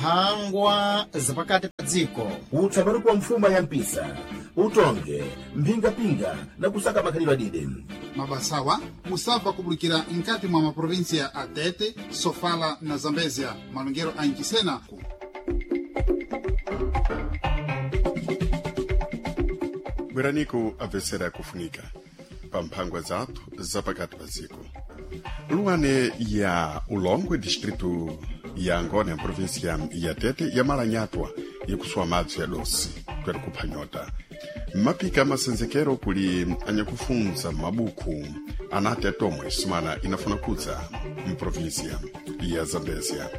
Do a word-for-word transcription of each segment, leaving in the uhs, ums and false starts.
Mphangwa zapakati pa dziko. Utsamani kwa mfuma ya mpisa, utonge, mphingapinga na kusaka makhalidwe adide. Mabasawa musabva kubulikira nkati mwa maprovinsia a Tete, Sofala na Zambezia, malongero a Nchisena. Bweraniku apesera kufunika pa mphangwa zathu zapakati pa dziko. Luane ya Ulongwe, distrito ya Angônia, província ya Tete, yamalanyatwa ikusuwa madzi ya dosi kwera kupha nyota. Mapika masenzekero kuli anyakufunza mabuku anati atomwe sumana inafuna kudza mprovíncia ya Zambésia.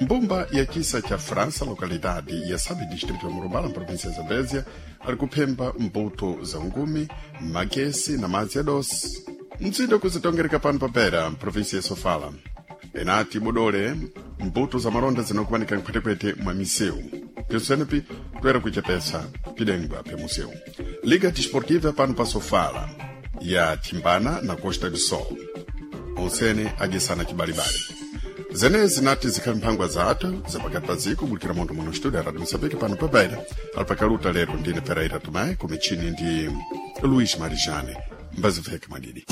Mbumba ya chisa cha França, localidade ya Sabe, distrito ya Murumbala, província ya Zambésia, ali kuphemba mbuto za ungumi, magesi na madzi ya dosi. Mtsindo kuzitongereka pano papera, província ya Sofala. Enati bodole mbuto za malonda zinakumanika mphwetephwete mwa misewu. Pyosenepi toera kuchepesa pidengwa pya museu. Liga Desportiva pano pa Sofala ya Timbana na Costa do Sol. Onsene adyesana chibalibali. Zenezi nati zikhali mphangwa zathu zapakati pa dziko bulikira mondo muno studio Radio Mosambike pano pa Beira. Alipakaluta lero ndine Pereira Tomé, kumichini ndi Luís Marijane. Mbaziveke madidi.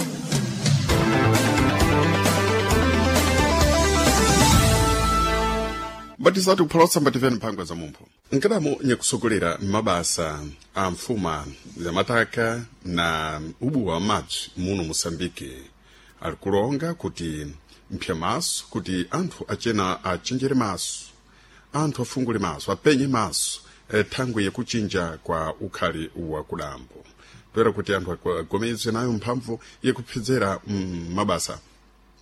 Mbatisatu kupholosa mbativeni mphangwa za mumpho. Nkadamu nyakusogolera mabasa a mfuma ya mataka na ubuwa wa madzi muno Moçambique ali kulonga kuti mpya maso kuti anthu acena achenjere maso, anthu afungule maso, apenye maso, eh, thangwi yakuchinja kwa ukhali wa kudambo, toera kuti anthu agomezwe nayo mphamvu yakuphedzera mm, mabasa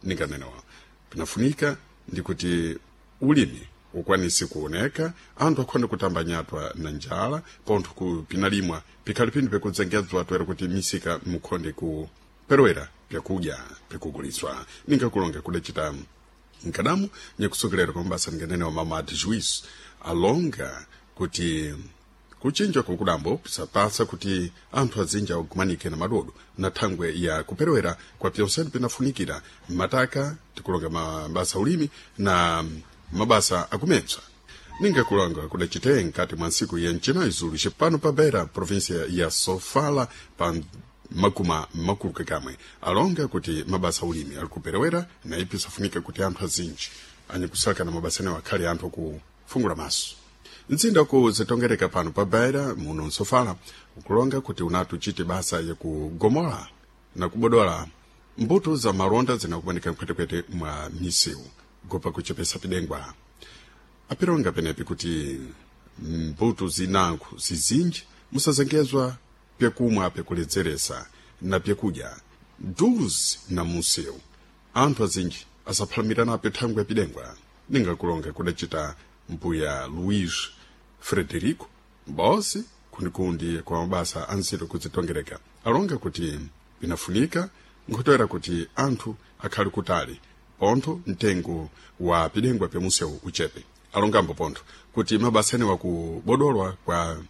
ninganenewa pinafunika ndi kuti ulimi ukwanise kuoneka, anthu akhonde kutamba nyatwa na njala pontho ku pinalimwa pikhali pinthu pikudzengedzwa toera kuti misika mukhonde kuperewera pyakudya pikuguliswa. Ningakulonga kudacita nkadamu nyakusokolera kwa mabasa ninganenewa mama de juiz alonga kuti kuchinja kukudambo pisapasa kuti anthu azinja agumanike na madodo na thangwe ya kuperewera kwa pyonsene pinafunikira mataka tikulonga mabasa ulimi na mabasa akumepsa. Ningakulonga kudacite nkati mwa ntsiku ya mchinayi zulu cipano pa Beira, província ya Sofala, pa makuma makulu kakamwe alonga kuti mabasa ulimi ali kuperewera na ipi safunika kuti anthu azinji anyakusaka na mabasa anewo akhale anthu akufungula maso. Mtsinda kuzitongereka pano pa Beira muno Nsofala ukulonga kuti unati uchite basa yakugomola na kubodola mbuto za malonda zinakumanika mphwetephwete mwa misewu gopa kuchepesa pidengwa. Apironga penepi kuti mbuto zinankhu zizinji musazengezwa pyakumwa pyakuledzeresa na pyakudya duzi na munsewu anthu azinji asaphalamira napyo thangwi ya pidengwa. Ningakulonga kudacita mbuya Luís Frederico bosi kunikundi kwa mabasa anziro kuzitongereka alonga kuti pinafunika nkhotoera kuti anthu akhale kutali pontho mtengo wa pidengwa pyamunsewu uchepe. Alongambo pontho kuti mabasa anewa kubodolwa kwa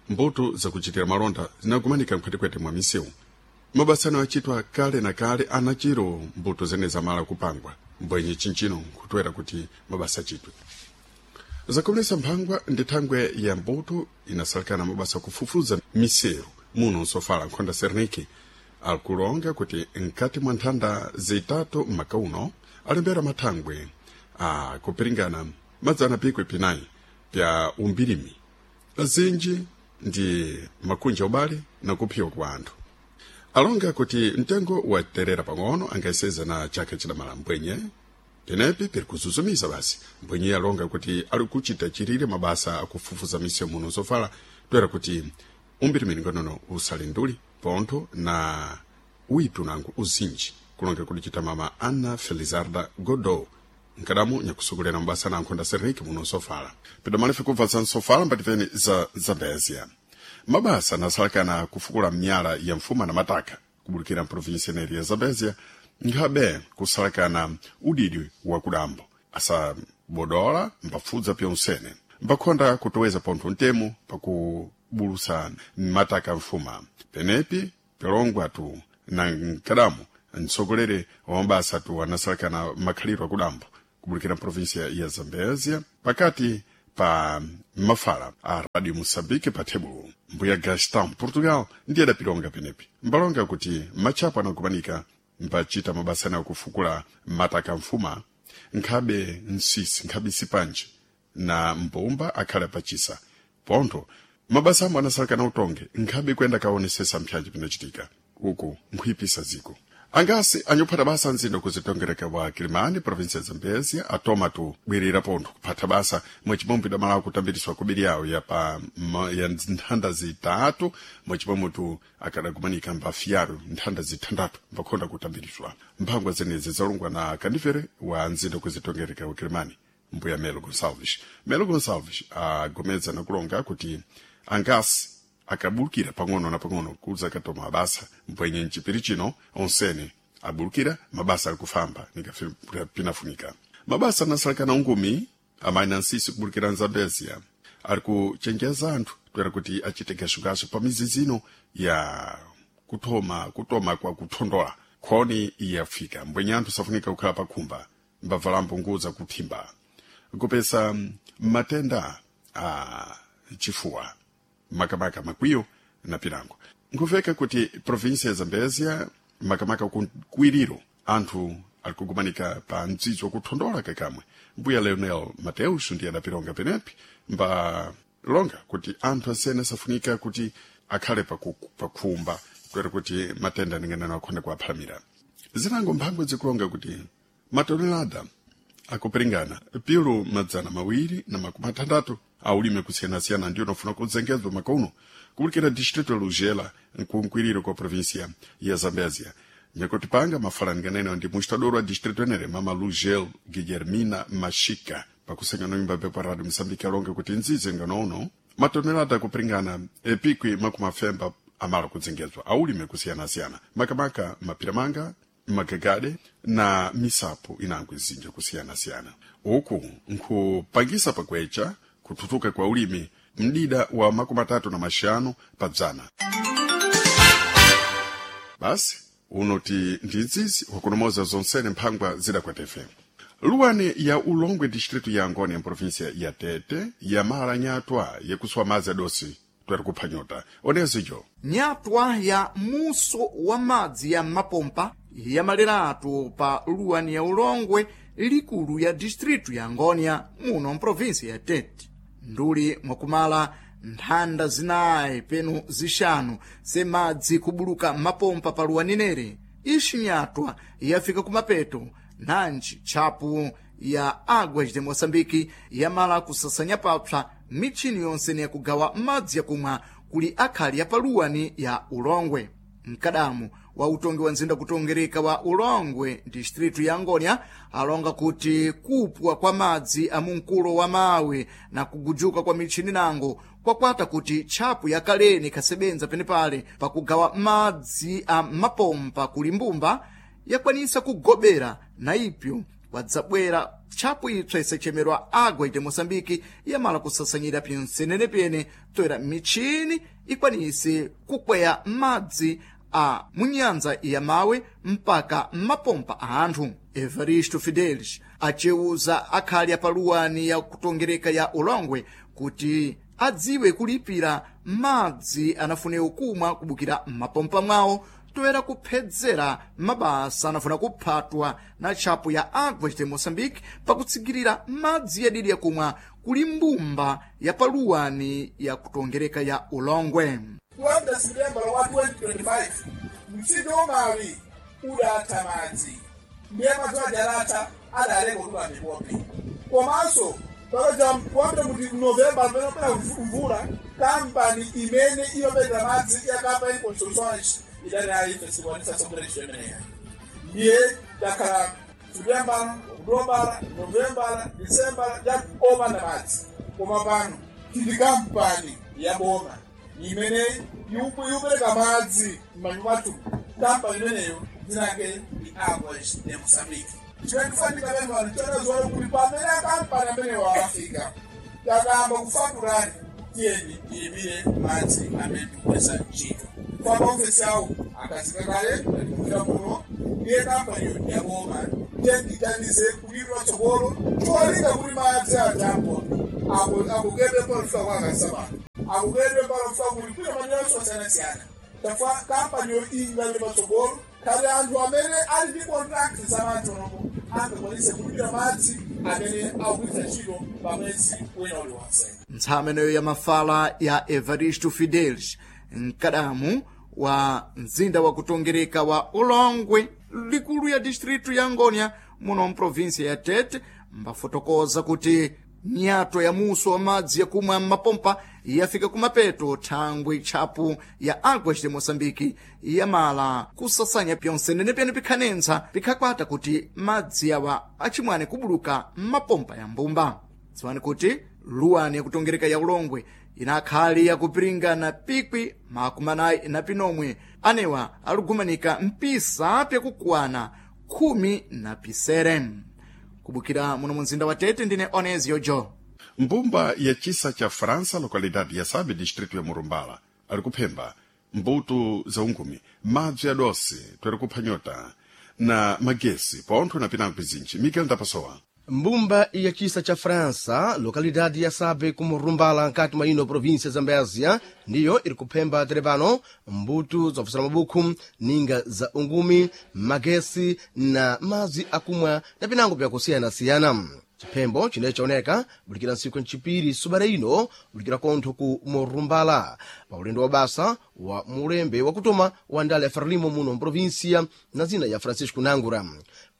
mbuto zakuchitira malonda zinakumanika mphwetephwete mwa misewu. Mabasa anewa achitwa kale na kale anachiro mbuto zene zamala kupangwa mbwenye chinchino nkhutoera kuti mabasa achitwe. Zakomelesa mphangwa ndi thangwe ya mbuto inasalikana mabasa kufufuza misewu muno Nsofala. Nkhonda Serniki akulonga kuti nkati mwa nthanda zitatu m'maka uno alembera mathangwe a kupiringana madzana pikwi pinayi pya umbirimi azinji ndi makunja ubale na kuphiwa kwa anthu. Alonga kuti mtengo waterera pang'ono angaiseza na chaka chidamala mbwenye penepi piri kuzuzumiza basi mbwenye alonga kuti ali kuchita chirire mabasa akufufuza misewu muno Sofala toera kuti umbirimi ngonono usale nduli pontho na uipi unango uzinji kulonga kuti chita mama Ana Felizarda Godot nkadamu nyakusogolera mabasa na nkhonda Seriki muno Sofala. Pidamalife kubva za Nsofala mbativeni za Zambésia. Mabasa anasalakana kufukula miyala ya mfuma na mataka kubulikira mprovinsia neri ya Zambésia nkhabe kusalakana udidi wa kudambo asabodola mbafudza pyonsene mbakhonda kutoweza pontho ntemo pakubulusa mataka mfuma penepi pilongwa tu na nkadamu mtsogoleri wa mabasa tu anasalakana makhaliro akudambo kubulikira mprovinsia ya Zambésia pakati Pa mafala a Radio Moçambique pa tebulo mbuya Gaston Portugal ndiye adapilonga penepi mbalonga kuti machapo anakumanika mbachita mabasa anayo kufukula mataka mfuma nkhabe nsisi nkhabe sipanji na mbumba akhale pachisa pontho mabasa amwe anasalaka na utonge nkhabe kuyenda kaonesesa mpyanji pinachitika uku nkhuyipisa ziko angasi anyophata basa nzindo kuzitongereka wa Kilimani, provinsia ya Zambezia, atoma tu bwirira pontho kuphatha basa mwachipomwe idamalawo kutambiriswa kubiri yawo ya pa ma, ya nthanda zitatu mwachipomwe tu akadakumanika mbafiyaru nthanda zithandatu mbakhonda kutambiriswa. Mphangwa zenezi zalungwa na kandifere wa nzindo kuzitongereka wa Kilimani, mbuya Melo Gonçalves. Melo Gonçalves agomeza nakulonga kuti angasi akabulukira pang'ono na pang'ono kudza katoma mabasa mpwenye mchipiri chino onsene abulukira mabasa ali kufamba nikapinafunika mabasa anasalakana ungumi amayi na nsisi kubulukira nzambezia ali kuchenjeza anthu toera kuti achite gashugashu pa mizizi ino ya kutoma kutoma kwa kuthondola khoni iyafika mbwenye anthu safunika kukhala pakhumba mbavalambo nguza kuthimba kupesa matenda a chifuwa makamaka makwiyo na pilango. Nkuveka kuti provinsia ya Zambezia makamaka kukwiriro anthu ali kugumanika pa mdzidzi wakuthondola kakamwe. Mbuya Leonel Mateus ndiye adapilonga penepi mba longa kuti anthu asene safunika kuti akhale pakhumba kutera kuti matenda ninganano akhonda kuwaphalamira. Zinango mphangwe zikulonga kuti matonelada akupiringana pilu madzana mawiri na makumi atandatu aulime kusiyanasiyana ndiyo nofuna kudzengedzwa makono kubulikira distrito Lugela nkunkwiriro kwa província ya Zambésia. Nyakuti panga mafalanganeno ndi mustador wa distrito enere mama Lugel Guillermina Mashika pakusenya noimba pepa Radio Moçambique alonga kuti nzizi nganouno matonelada kupiringana epikwi makumi afemba amala kudzengedzwa aulime kusiyanasiyana makamaka mapiramanga magagade na misapo inango izinja kusiyanasiyana uku nkhupangisa pakwecha kututuka kwa ulimi mdida wa makumi atatu na maxanu padzana. Basi unoti ndi nzizi wakunomoza zonsene mphangwa zidakwatefe. Luwani ya Ulongwe distrito ya Angônia província ya Tete yamala nyatwa yakuswa madzi adosi tweri kupha nyota onezijo nyatwa ya muso wa madzi ya mapompa yamaliratu pa luwani ya Ulongwe likulu ya distritu ya Angônia muno mprovinsi ya Tete nduli mwakumala nthanda zinayi penu zixanu semadzi kubuluka mapompa pa luwaninere ixi nyatwa yafika kumapeto nanji tchapu ya Águas de Moçambique yamala kusasanya papsa mitchini yonse yakugawa madzi yakumwa kuli akhali ya paluwani ya Ulongwe. Mkadamu wa utongi wa nzinda kutongereka wa Ulongwe distritu ya Angônia alonga kuti kupwa kwa madzi a munkulo wa mawe na kugujuka kwa mitchini nango kwakwata kuti tchapu yakaleni ikhasebenza penepale pakugawa madzi a mapompa kuli mbumba yakwanisa kugobera na ipyo kwadzabwera tchapu ipsa isachemerwa Águas de Moçambique yamala kusasanyira pinsenenepene toera mitchini ikwanise kukweya madzi a munyanza ya mawe mpaka mapompa a anthu. Evaristo Fidelis acewuza akhali apaluwani ya kutongereka ya Ulongwe kuti adziwe kulipira madzi anafunewo kumwa kubukira m'mapompa mwawo toera kuphedzera mabasa anafuna kuphatwa na tchapu ya Águas de Moçambique pakutsigirira madzi yadidi yakumwa kuli mbumba ya paluwani ya kutongereka ya Ulongwe. Kuyambira September wa twenty twenty-five mtsinje umawi udatha madzi ndiye madzi ajalatha adalenga kutula mipopi komanso pakaja kuyambira kuti November pamene mvula kampani imene imapeza madzi ya kampani Construções idali ayi fesikwanisa sokulecho imeneya ndiye takhala September, October, November, December opanda madzi koma pano tili kampani ya boma imene yupereka madzi m'manyumba mwathu. Kampani imeneyo dzinake ndi Águas de Moçambique. Chimene tifanika pempano chanazoona kuti pamene akampani amenewo afika takamba kufatulani tiyeni tiyimire madzi amene tikugwiritsa ntchito kwa maofesi awo akazika kale tatimukira muno ndiye kampaniyo ndiyaboma tiyeni tithandize kulipira tsogolo cholinga kuti madzi atampo. Akugedwe mpaka kwa kasaba. Akugedwe mpaka kuli kuna madera osiyanasiyana. Chifukwa kampaniyo ingali patsogolo kale anthu amene ali ndi contract za madzi onopo angakwanise kulipira madzi amene akugwiritsa ntchito pa mwezi wina uliwonse. Ntsameneyo ya mafala ya Evaristo Fidelis, mkadamu wa mzinda wa kutongereka wa Ulongwe, likulu ya distritu ya Ngônia, muno mprovinsia ya Tete, mbafotokoza kuti nyato ya muso wa madzi yakumwa m'mapompa yafika kumapeto thangwi tchapu ya Águas de Moçambique yamala kusasanya pyonse nenepene pikhanentsa pikhakwata kuti madzi awa acimwane kubuluka m'mapompa ya mbumba. Dziwani kuti luwani yakutongereka ya Ulongwe inakhali yakupiringana pikwi makumi anayi na pinomwe anewa aligumanika mpisa pyakukwana khumi na pisere. Kubukira muno mumzinda wa Tete ndine Onesio Jo. Mbumba ya chisa cha França, localidade ya Sabe, distrito ya Murumbala, ali kuphemba mbuto za ungumi, madzi ya dosi, twere kupha nyota na magesi pontho na pinango pizinji. Miguel Ndapasowa. Mbumba ya chisa cha França, localidade ya Sabe kumurumbala nkati mwa ino província Zambésia, ndiyo iri kuphemba terepano mbuto zofusira mabukhu, ninga za ungumi, magesi na madzi akumwa na pinango pyakusiyana-siyana. Chiphembo chine chaoneka bulikira ntsiku ncipiri subara ino bulikira kontho ku Murumbala pa ulendo wa basa wa mulembe wakutoma wa ndale ya Frelimo muno mprovinsia na zina ya Francisco Nangura.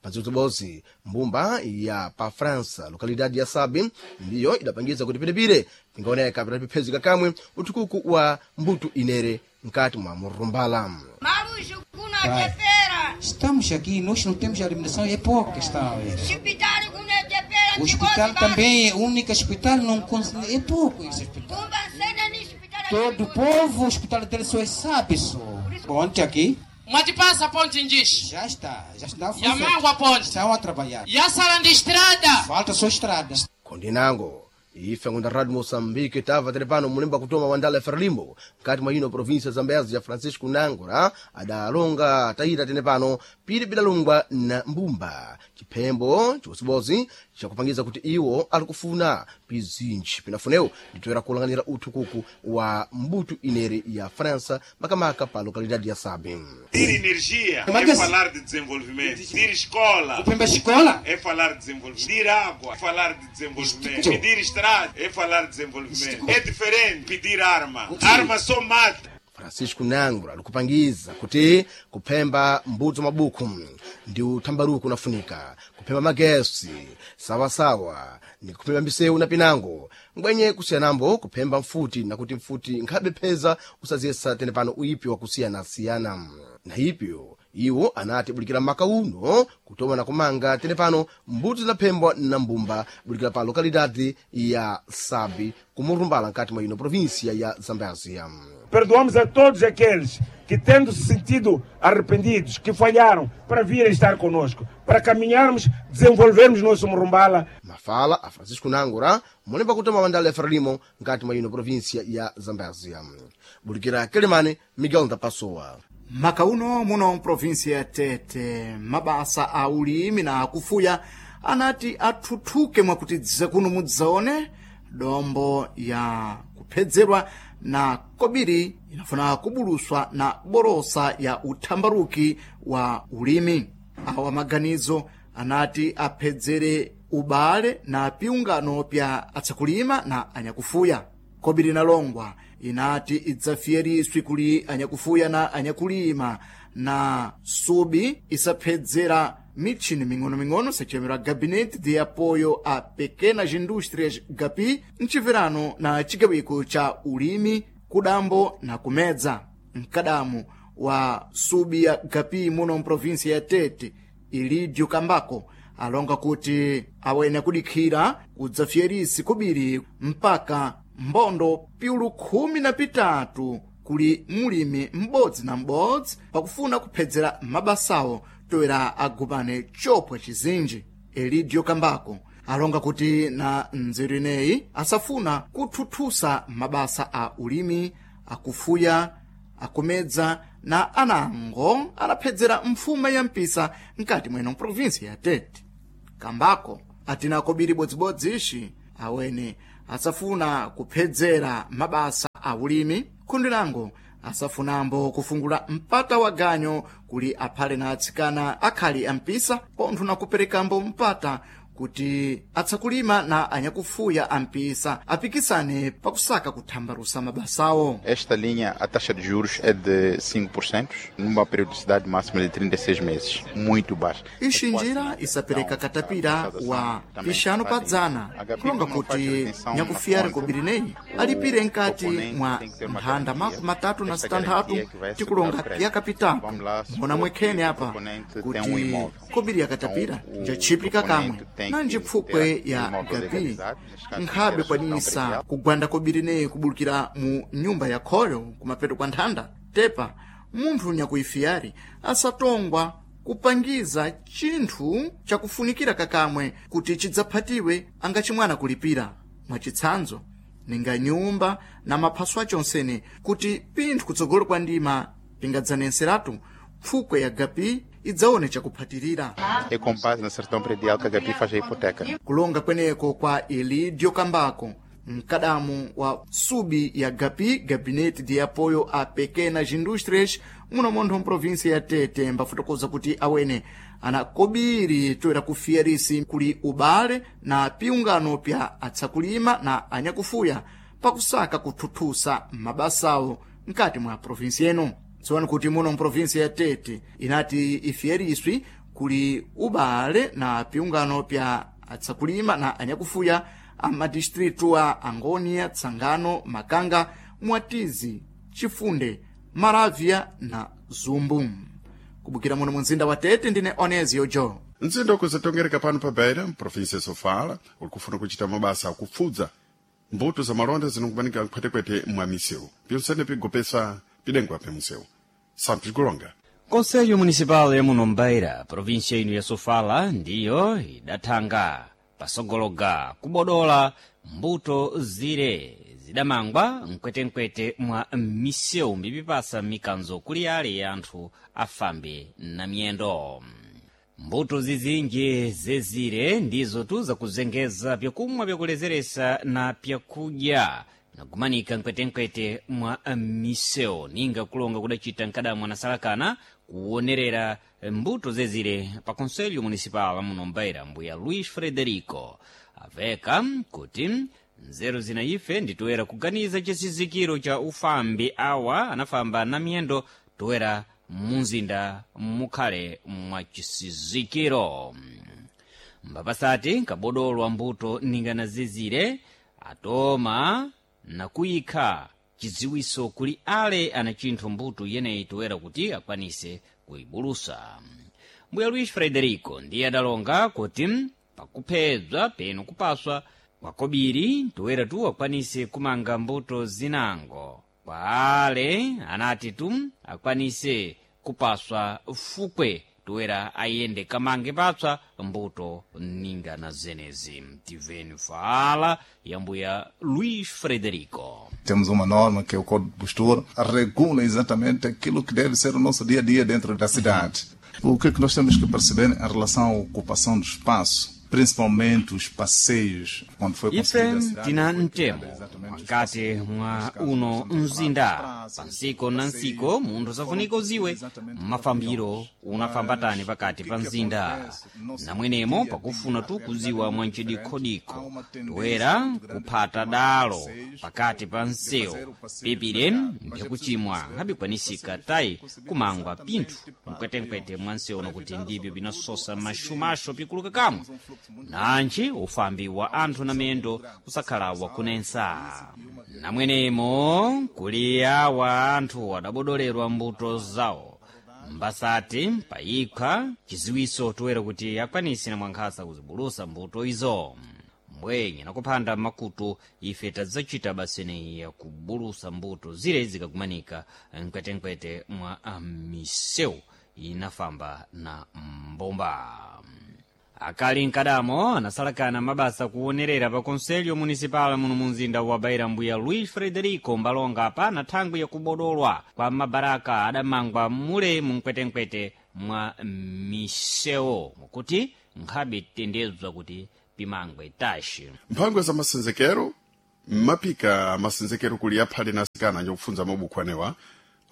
Pazibzibodzi mbumba ya pa França localidade ya Sabe ndiyo idapangiza kuti piripire pingaoneka pitapiphezeka kamwe uthukuku wa mbuto inere nkati mwa Murumbala. Marujo kuna chepera. Estamos aqui, nós não temos alimentação, é pouca está a ver. Hospital kuna chepera. O hospital também, o único hospital não cons- é pouco esse hospital. Kumba sena ni hospital. Todo o povo, o hospital dele só é sabe só. Ponte aqui, Mwatipasa ponte njishi já está, já está a Yamangwa funcionar. ponte Estão a trabalhar. Yasala ndi estrada. Falta só estrada. Kondinango ife ngunda Radio Moçambique tava terepano mulemba kutoma wa ndale ya Frelimo nkati mwa ino província Zambésia Francisco Nangura adalonga tayita tenepano pili bidalungwa na mbumba chiphembo chiwosibozi chakupangiza kuti iwo ali kufuna pizinji pinafunewo nditoera kulanganira uthukuku wa mbuto inere ya França makamaka pa localidade ya Sabe. Pedir energia Mas é que- falar de desenvolvimento. Pedir escola Pemba escola? é falar de desenvolvimento. Pedir água é falar de desenvolvimento. Isto- Pedir estrada é falar de desenvolvimento. É diferente pedir arma. Arma só mata. Francisco Nangura likupangiza kuti kuphemba mbuto mabukhu ndi uthambaruko unafunika kuphemba magesi sawasawa ni kuphemba misewu na pinango ngwenye kusiyanambo kuphemba mfuti nakuti mfuti nkhabe pheza usaziyesa tene pano uipi wakusiyanasiyana na ipyo iwo anati bulikira maka uno kutoma na kumanga tene pano mbuto zinaphembwa na mbumba bulikira pa lokalidade ya Sabi kumurumbala nkati mwa ino província ya Zambésia. Perdoamos a todos aqueles que, tendo se sentido arrependidos, que falharam, para virem estar conosco, para caminharmos, desenvolvermos nosso Murumbala. Mafala a Francisco Nangura mulemba kutoma mandala ya Frelimo nkati mwa ino província ya Zambésia. Bulikira Kelemane, Miguel Ndapassoa. Maka uno muno mprovinsia ya Tete mabasa a ulimi na akufuya anati athuthuke mwakuti kuno mudzaone dombo ya kuphedzerwa na kobiri inafuna kubuluswa na borosa ya uthambaruki wa ulimi. Awa maganizo anati aphedzere ubale na piungano pya atsakulima na anyakufuya. Kobiri nalongwa inati idzafiyeriswi kuli anyakufuya na anyakulima na subi isaphedzera mitchini ming'ono-ming'ono sachemera Gabinete de Apoio a Pequenas Indústrias GAPI mchiverano na chigawiko cha ulimi kudambo na kumedza. Mkadamu wa subi ya GAPI muno mprovinsia ya Tete Ilidio Kambako alonga kuti awene kudikhira kudzafiyerisi kubiri mpaka mbondo piulu khumi na pitatu kuli mulimi m'bodzi na m'bodzi pakufuna kuphedzera mabasawo toera agumane chopwa chizinji. Elidio Kambako alonga kuti na nzeru ineyi asafuna kuthuthusa mabasa a ulimi akufuya akumedza na anango anaphedzera mfuma ya mpisa mkati mweno mprovinsi ya Tete. Kambako atina kobiri bodzibodzishi awene asafuna kuphedzera mabasa a ulimi khundi lango asafunambo kufungula mpata wa ganyo kuli aphale na atsikana akhali ampisa pontho na kuperekambo mpata kuti atsakulima na anyakufuya ampisa apikisane pakusaka kuthambalusa mabasawo. Esta linha, a taxa de juros é de cinco por cento, numa periodicidade máxima de trinta e seis meses, muito baixa. Ixi njira isapereka katapira wa pixanu pa dzana, kulonga kuti nyakufiyari kobirineyi alipire nkati mwa nthanda makumi matatu na sitanthatu tikulonga piyaka pitatu. Mbona mwekhene apa kuti kobiri ya katapira njatchipika kamwe nanji pfukwe ya gapi nkhabe kwanisa kugwanda kobirineyi kubulukira mu nyumba ya khoyo kumapeto kwa nthanda. Tepa munthu nyakuifiyari asatongwa kupangiza chinthu chakufunikira kakamwe kuti chidzaphatiwe angachimwana kulipira, mwachitsanzo ninga nyumba na maphaso acho onsene, kuti pinthu kutsogolo kwa ndima pingadzanenseratu pfukwe ya gapi idzaone chakuphatirira. É com base na certidão predial que a Gapi faz a hipoteca. Kulonga kweneko kwa Elidio Kambako, mkadamu wa subi ya Gapi, Gabinete de Apoio a Pequenas Indústrias, muno montho mprovinsia ya Tete, mbafotokoza kuti awene ana kobiri toera kufiyarisi kuli ubale na piungano pya atsakulima na anyakufuya pakusaka kuthuthusa mabasawo mkati mwa provinsi eno. Tsono kuti muno mprovinsi ya Tete inati ifiyeriswi kuli ubale na piungano pya atsakulima na anyakufuya a madistritu a Angônia, Tsangano, Makanga, Mwatizi, Chifunde, Maravia na Zumbu. Kubukira muno munzinda wa Tete ndine Onezio Jo. Mzinda ukuzatongereka pano pa Beira, mprovinsia ya Sofala, uli kufuna kuchita mabasa akupfudza mbuto za malonda zinokumanika nkhwetekwete mwa misewu pinsene pigopesa pidengwa pe munsewu. Santos Golonga. Conselho Municipal ya muno Mbeira, província ino ya Sofala, ndiyo idathanga pasogologa kubodola mbuto zire zidamangwa mkwetenkwete mwa misewu mbipipasa mikanzo kuli ale ya anthu afambe na miyendo. Mbuto zizinji zezire ndizo tu zakuzengeza pyakumwa pyakulezeresa na pyakudya nakumanika mkwetenkwete mwa misewu ninga kulonga kudacita mkadamu anasalakana kuonerera mbuto zezire pa Conselho Municipal muno Mbeira, mbuya Luís Frederico aveka kuti nzeru zina ife nditoera kuganiza chisizikiro cha ufambi awa anafamba na miyendo toera munzinda mukhale mwa chisizikiro. Mbapasati nkabodolwa mbuto ningana zizire atoma nakuyikha chidziwiso kuli ale ana chinthu mbuto yeneyi toera kuti akwanise kuibulusa. Mbuya Luís Frederico ndiye adalonga kuti pakuphedzwa peno kupaswa kwakobiri toera tu akwanise kumanga mbuto zinango kwa ale anati tu akwanise kupaswa fukwe toera ayende kamange patswa mbuto ninga na zenezi. Tiveni fala ya mbuya Luís Frederico. Temos uma norma que é o Código de Postura, regula exatamente aquilo que deve ser o nosso dia a dia dentro da cidade. O que é que nós temos que perceber em relação à ocupação do espaço? Principalmente os passeios, quando foi ife tina mtemo mkati mwa uno mzinda pansiko na nsiko munthu safunika uziwe mafambiro unafambatani pakati pa mzinda namwenemo pakufuna tu kuziwa mwanchidikhodikho toera kuphata dalo pakati pa msewu pipire mpyakuchimwa ngabikwanisika tayi kumangwa pinthu mkwetenkwete mwa msewu nokuti ndibyo binasosa mashumasho pikuluka kamwe nanji ufambi wa anthu na miyendo usakhala wakunensa. Namwenemo kuli awa anthu adabodolerwa mbuto zawo mbasati payikha chiziwiso toera kuti akwanise na mwankhasa kuzibulusa mbuto izo. Mbwenye nakuphanda makutu ife tadzacita baseneyi yakubulusa mbuto zire zikakumanika mkwetenkwete mwa misewu inafamba na mbomba. Akali mkadamo anasalakana mabasa kuonerera pa Conselho Municipal muno munzinda wa Beira mbuya Luís Frederico mbalonga pana thangwi yakubodolwa kwa mabaraka adamangwa mule mumkwetenkwete mwa misewu mukuti nkhabe tendezwa kuti pimangwe taxi. Mphangwa za masenzekero Mapika masenzekero kuli aphale na asikana anyakufunza mabukhu anewa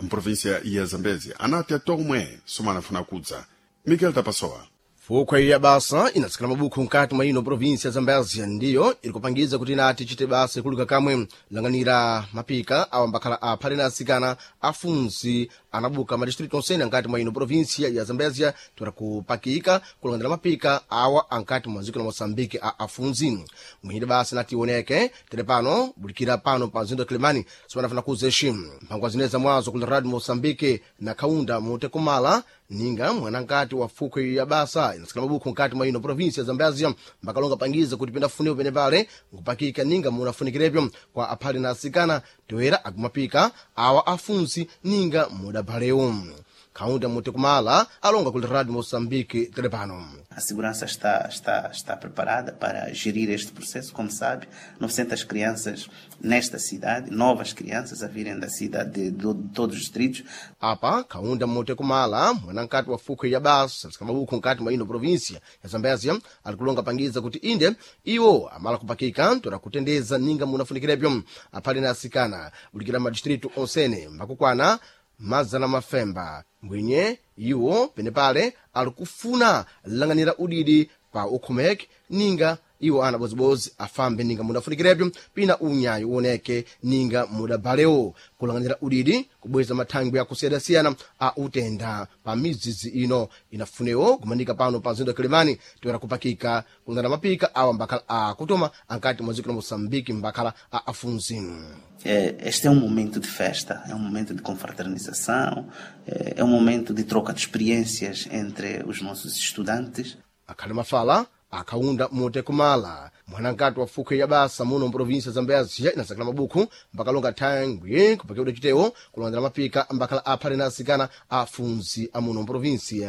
mprovinsia ya Zambezi anati atomwe somanafuna kudza. Miguel Tapasoa. Fukhwe ya basa inatsikana mabukhu mkati mwa ino provinsi ya Zambezia ndiyo iri kupangiza kuti inati ichite basa ikuluka kamwe lang'anira mapika awa mbakhala aphale na asikana afunzi anabuka madistritu onsene ankati mwa ino provinsia ya Zambezia tora kupakika kulang'anira mapika awa ankati mwa dziko la Moçambique a afunzi mwini basa inati ioneke tere pano bulikira pano pa mzinda wa Kilimani sipanafuna kuzeshi mphangwa zine za mwazo kula radio Moçambique na kaunda mutekumala ninga mwanankati wa fukhwe ya basa inatsikana mabukhu nkati mwa ino provinsi ya Zambezia mbakalonga pangiza kuti pendafunepo pene pale nkupakika ninga munafunikirepo kwa aphale na asikana toera akumapika awa afunsi ninga mudabalewo kaunda mutekumala alonga kuli radio Moçambique telepano. A segurança está, está, está preparada para gerir este processo, como sabe, novecentas crianças nesta cidade, novas crianças a virem da cidade de, de, de todos os distritos. Apa kaunda mutekumala mwanankati wa fukhwe ya basa mabukhu nkati mwa ino provinsia ya Zambezia alikulonga pangiza kuti inde iwo amala kupakika tora kutendeza ninga munafunikirepo aphale na asikana bulikira madistritu onsene mbakukwana mazana mafemba mbwinye iwo penepale alikufuna lang'anira udidi pa ukhomeke ninga iwo ana bozibozi afambe ninga mudafunikirepo pina unyayi uoneke ninga mudabalewo kulang'anira udidi kubweza mathangwi akusiyana-siyana a utenda pa midzidzi ino inafunewo kumanika pano pa mzinda wa Kilimani toera kupakika kulang'anira mapika awa mbakhala akutoma ankati mwa dziko la Moçambique mbakhala a afunzi. Este é um momento de festa, é um momento de confraternização, é um momento de troca de experiências entre os nossos estudantes. Akhali mafala akaunda mutekumala mwanankati wa fukhwe ya basa muno mprovinsi ya Zambezia inasakala mabukhu mbakalonga thangwi kupakiwidwa chitewo kulondera mapika mbakhala aphale na asikana afunzi amuno mprovinsi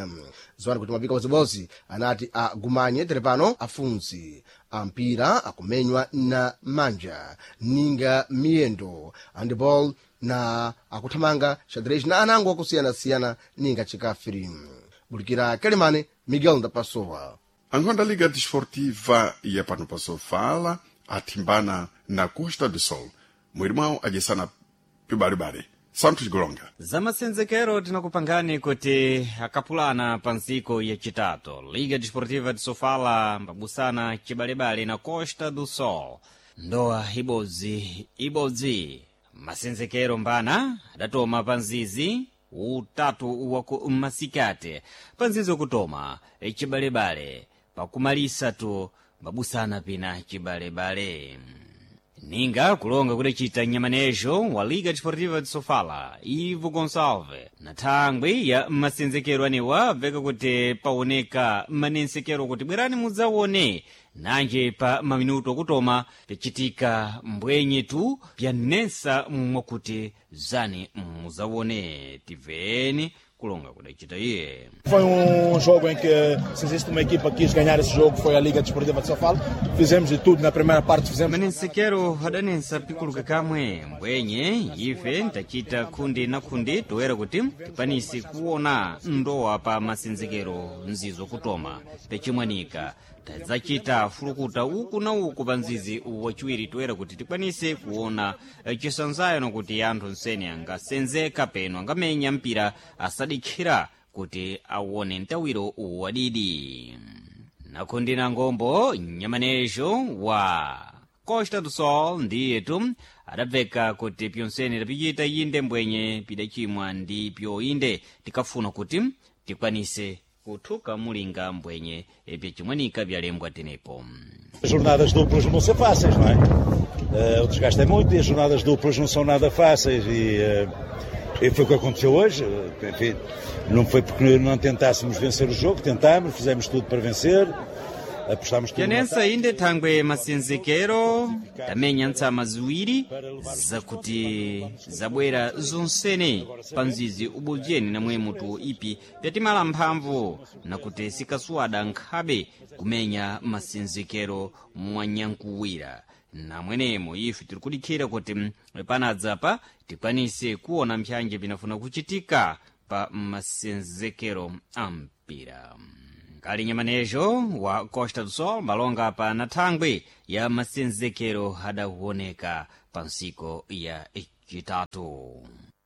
ziwani kuti mapika bozibozi anati agumanye tere pano afunzi ampira akumenywa na manja ninga miyendo handball na akuthamanga xadrez na anango akusiyana-siyana ninga chikafiri. Bulikira Kelimane, Miguel Ndapasowa. Angola Liga Desportiva ya pano pasofala athimbana na Costa do Sol. Mwiri mwawo adyesana pibalibali. Santos Golonga. Zamasenzekero tinakupangani kuti akapulana pa ntsiku yacitatu Liga Desportiva de Sofala mbabusana cibalebale na Costa do Sol. Ndowa ibodzi ibodzi masenzekero mbana adatoma pa nzizi utatu waku masikati pa nzizi wakutoma cibalebale pakumalisa tu mbabusana pina cibalebale ninga kulonga kudacita nyamanejo wa Liga Desportiva de Sofala Ivo Gonçalves na thangwi ya masenzekero anewa bveka kuti paoneka manensekero kuti bwerani mudzaone nanje pa maminuto akutoma picitika mbwenye tu pyanensa mwakuti zani mudzaone tiveni kulonga kudacita iye. Foi um jogo em que, se existe uma equipa que quis ganhar esse jogo, foi a Liga Desportiva de Sofala. Fizemos de tudo na primeira parte, fizemos. Manensekero adanensa pikuluka kamwe mbwenye ife ntachita khundi na khundi toera kuti tipanise kuona ndowa pa masenzekero nzizo kutoma pecimwanika tadzacita fulukuta uku na uku pa nzizi waciwiri toera kuti tikwanise kuona cisanzayo nokuti anthu nsene angasenzeka peno angamenya mpira asadikhira kuti awone mtawiro wadidi nakhundi na ngombo nyamanejo wa Costa do Sol ndiyetu adabveka kuti pyonsene tapicita inde mbwenye pidacimwa ndi pyoinde tikafuna kuti tikwanise kuthuka mulinga mbwenye pyacimwanika byalembwa tenepo. As jornadas duplas não vão ser fáceis, não é? Uh, o desgaste é muito e as jornadas duplas não são nada fáceis e, uh, e foi o que aconteceu hoje. Enfim, não foi porque não tentássemos vencer o jogo, tentámos, fizemos tudo para vencer. Apostámos tudo. Tenensa inde thangwe masenzekero tamenya ntsama ziwiri zakuti zabwera zonsene pa mzizi ubodzeni namwe mutu ipi pyatimala mphamvu nakuti sikasuwada nkhabe kumenya masenzekero mwanyankuwira namwenemo ife tiri kudikhira kuti panadzapa tikwanise kuona mphyanje pinafuna kuchitika pa masenzekero a mpira. Nkali nyamanejo wa Costa do Sol malonga pa nathangwe ya masenzekero adawoneka pa ntsiku ya chitatu.